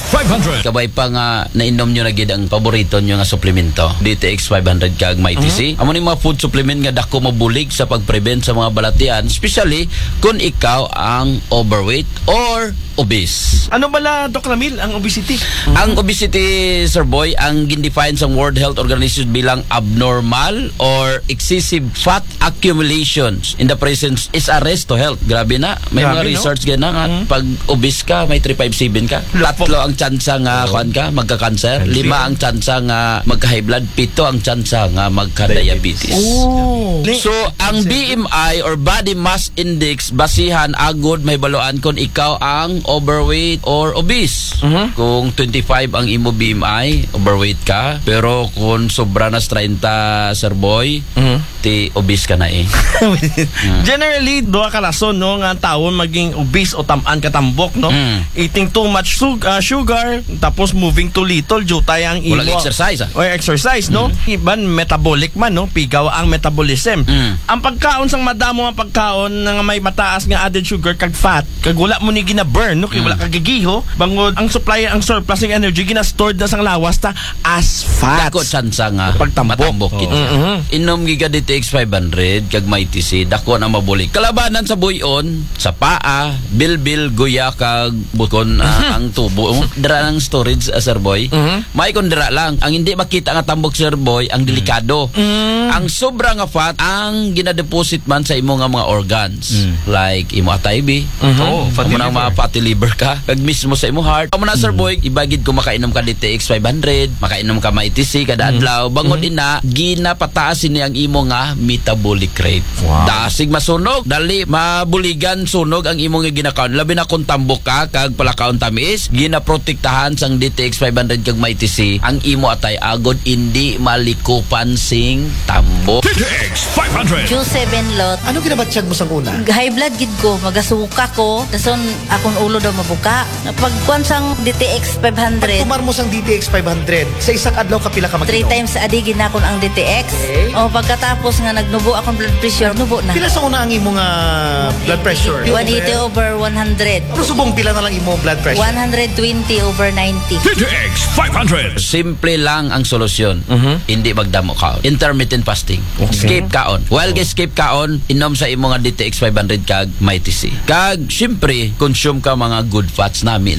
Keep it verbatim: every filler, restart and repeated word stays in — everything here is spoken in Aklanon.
five hundred. Kabay pa nga nainom nyo na gid ang paborito nyo nga suplemento, D T X five hundred kag Mighty C. Amo ni mga food supplement nga dako mabulig sa pag-prevent sa mga balatian, especially kung ikaw ang overweight or obese. Ano bala, Doc Ramil, ang obesity? Ang obesity, Sir Boy, ang gindefine sa World Health Organization bilang abnormal or excessive fat accumulations in the presence is a risk to health. Grabe na. May Grabe, mga no? Research gana nga pag obese ka, may three five seven ka. Tatlo ang tsansa nga kuan ka, magka-cancer. Lima ang tsansa nga magka-high blood. Pito ang tsansa nga magka-diabetes. Oh. So, ang B M I or body mass index, basihan agud mahibaluan kung ikaw ang overweight or obese. Kung twenty-five ang imo B M I, overweight ka. Pero kung sobra na sa treinta, Sir Boy, ti obese ka na eh. Generally, duha ka rason, no, nga ang tawo maging obese o tam-an katambok, no? Mm. Eating too much sug- ah, sugar, tapos moving too little, jutay ang imo. Walang exercise, ah. O exercise, no? Iban metabolic man, no? Pigaw ang metabolism. Mm. Ang pagkaon sang madamo ang pagkaon nga may mataas nga added sugar kag fat, kag wala mo ni gina-burn, no? Kay wala ka gigiho, bangod ang supply, ang surplus ng energy gina-stored na sang lawas ta as fats. Dako tsansa nga Pagtambok. matambok kita. Inom giga D T X five hundred kag Mighty C, dako na mabulig. Kalabanan sa buyon, sa paa, bilbil, guya, kag bukon, ah, ang tubo. Oh, dira ang storage, ah, Sir Boy. May kung dira lang. Ang hindi makita nga tambok, Sir Boy, ang delikado. Ang sobra nga fat, ang ginadeposit man sa imo nga mga organs. Like, imo atay, bi. Oh, fatty Amo na ang mga liver. Fatty liver ka. Kag mismo sa imo heart. Amo na, Sir Boy, ibagid ko makainom ka D T X five hundred, makainom ka Mighty C kada adlaw. Bangod ina, ginapataas ini ang imo nga metabolic rate. Wow. Dasig masunog, dali mabuligan sunog ang imo nga ginakaon. Labi na kung tambok ka, kag palakaon tamis, ginaprotektahan sang D T X five hundred kag Mighty C ang imo atay agod indi malikupan sing tambok. D T X five hundred. Q seven lot. Ano ginabatyag mo sang una? High blood gid ko, magasuka ko. Dason akong ulo daw mabuka. Pagkuan sang D T X five hundred, Pagtumar mo sang D T X five hundred, sa isang adlaw kapila ka three mag-inom? Times a day ginakon ang D T X. Okay. O pagkatapos nga nagnubo akong blood pressure, nubo na. Pila sa una ang imo nga blood pressure? One eighty over one hundred. Pero subong pila na lang imo blood pressure? One hundred twenty over ninety. D T X five hundred. Simple lang ang solusyon. Hindi magdamo kaon. Intermittent fasting. Skip kaon. While kay skip kaon, inom sa imo nga D T X five hundred kag Mighty C. Kag, syempre, consume ka mga good fats nami.